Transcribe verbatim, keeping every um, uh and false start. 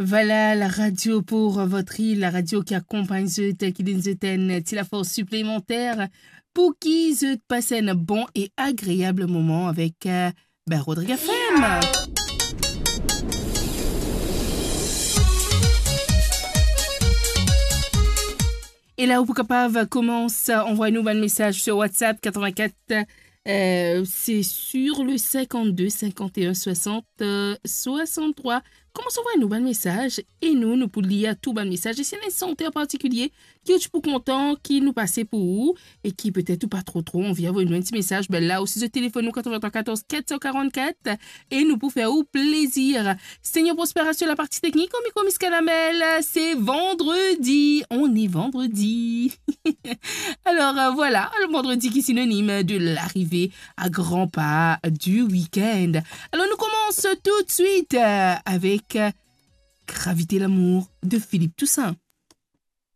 Voilà, la radio pour votre île, la radio ki akonpagn zot, ki donn zot enn ti lafors siplemanter pou ki zot pas enn bon e agreab moman avek, eh, ben, Rodriguez F M. E la, ou pou kapav koumans anvoy nou bann mesaz sur WhatsApp quatre-vingt-quatre, eh, c'est sur le cinquante-deux cinquante et un soixante, eh, soixante-trois. Koumans anvoy nou bann mesaz e nou, nou pou lir tou bann mesaz. E si ena enn santer partikilie ki ou ti pou kontan ki nou pase pou ou e ki petet ou pa tro, tro anvi avoy nou enn ti mesaz, ben la osi, zot telefonn nou quatre-vingt-trois quatorze quatre cent quarante-quatre e nou pou fer ou plezir. Seigneur Prosper asir la partie technique, au micro Miss Caramel, c'est vendredi, on est vendredi. Alors, euh, voilà, le vendredi qui est synonyme de l'arrivée à grands pas du week-end. Alors, nous commençons tout de suite, euh, avec, euh, Gravité l'amour de Philippe Toussaint.